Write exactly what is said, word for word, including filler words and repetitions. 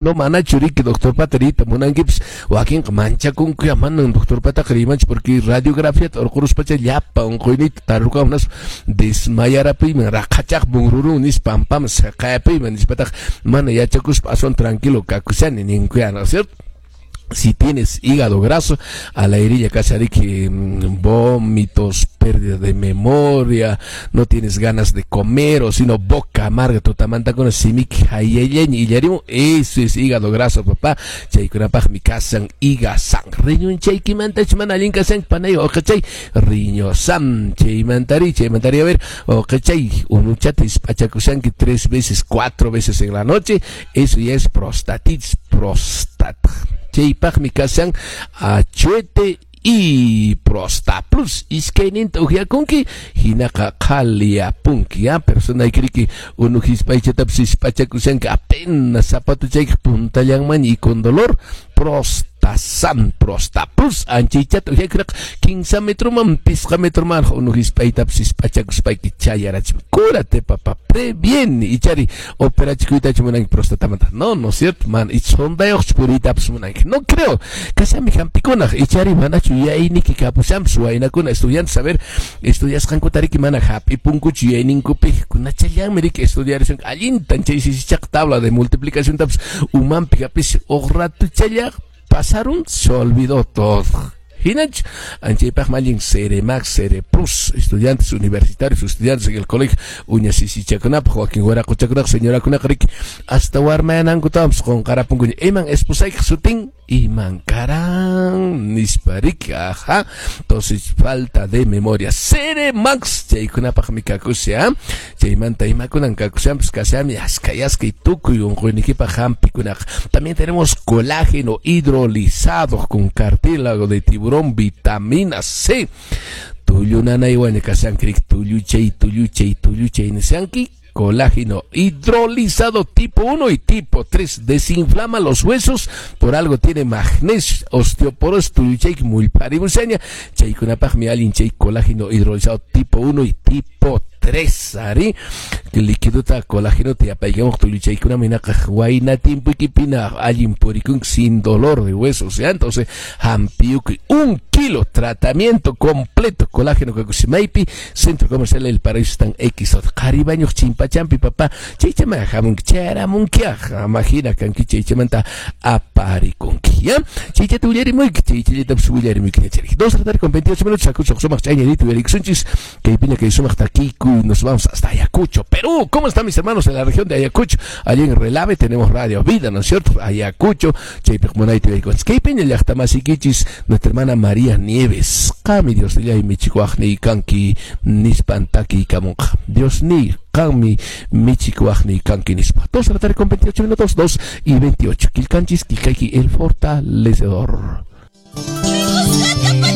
No manachu riki doctorpata riyta munankipis, wakinqa manchakunku, ya manan doctorpataqa riymanchu porque radiografiata urquruspacha llapa unquyniyta tarurqamun nispa desmayarapiyman raqhachaq bunrurun nispa pampaman siqayapiyman nispataqa mana yachakuspa aswan tranquilo kakushani ninkuya, ¿no es cierto? Si tienes hígado graso, a la herilla kashariki vómitos, pérdida de memoria, no tienes ganas de comer, o sino boca amarga, tutamantakuna simiki hayallaña illarimun, eso es hígado graso, papá. Chaykunapaqmi kasan Igasan. Riñonchaykimantach mana allin kashanki panay uqachay Riñosam. Chaymantari, chaymantari, a ver, uqachay unuchata isp'achakushanki tres veces, cuatro veces en la noche, eso ya es prostatitis, prostata. Chaypaqmi kashan Achuete y Prosta Plus. Iskayninta uqyakunki hinaqa qhaliyapunki, ya personaykiriki unu hisp'aychatapis hisp'achakushanki apenas zapatuchaykiq puntallanman y con dolor, Prostasam, Prosta Plus anchaychata uqyakunaqa kinsa metroman pisqa metroman unu hisp'aytapis hisp'achakuspayki chayarachim. Cúrate, papá, previene. Ichari operachikuytachu munanki prostatamanta? No, no es cierto, man, ichondayuqchu puriytapas munanki? No creo. Kashami hampikunaq, ichari manachu yuyayniki kapushanpas. Waynakuna, estudiantes, a ver, estudiasqankuta riki mana hap'ipunkuchu yuyayninkupi, kunachallanmi riki estudiarishunku allintan chay sisichaq tabla de multiplicaciontapas umanpi hap'is uq ratuchalla pasaron, se olvidó todo. Hinach, anchaypaqmi allin Ceremax, Cereplus, estudiantes universitarios, estudiantes en el colegio, uña sisichakunapaq, wakin waraquchakunaq, señorakunaqa riki, hasta warmayanankutawan qunqarapunkuña. Iman esposaykiq sutin? Iman karan, nispa riki, ajá. Entonces, falta de memoria. Ceremax, chaykunapaqmi kakusha, chaymanta imakunan kakushanpas kashami aska yaska y tukuy unquyniykipaq hampikunaqa. También tenemos colágeno hidrolizado con cartílago de tiburón, vitamina C. Tullu nanaywanña kashanki riki, tulluchay, tulluchay, tulluchay nishanki. Colágeno hidrolizado tipo uno y tipo tres. Desinflama los huesos, por algo tiene magnesio, osteoporosis, tulluchayki mullparimushaña. Chaykunapaqmi allin chay colágeno hidrolizado tipo uno y tipo tres, ari. Liquidota colágeno te yapaykamuq tulluchaykunami hinaqa wayna tiempoykipina allin purikunki sin dolor de huesos, ¿ya? Entonces, hampiyukuy un kilo, tratamiento completo, colágeno kakusimaypi, Centro Comercial El Paraíso están X, qharibañuq chimpachampi, papá, chaychama hamunki, chayaramunkiaq, amahina kanki chaychamanta aparikunki, ¿ya? Chaychata willarimuyki, chaychallatapas willarimuyki ñachariq. Dos de la tarde con veintiocho minutos, akuchaq sumaq ch'añanita uyarikusunchis, kaypiña kay sumaq takiykuy, nos vamos hasta Ayacucho, Perú. ¿Cómo están mis hermanos en la región de Ayacucho? Allí en Relave tenemos Radio Vida, ¿no es cierto? Ayacucho, chaypiq munayta uyarikunchis. Kaypiña llaqtamasikichis, nuestra hermana María Nieves. Qami Diosnillay michikuaqniy kanki nispan takiykamunqa. Diosniy qanmi michikuaqniy kanki nispa. Dos de la tarde con veintiocho minutos, dos y veintiocho. Qillqanchis, qillqayki, el fortalecedor. Buscate.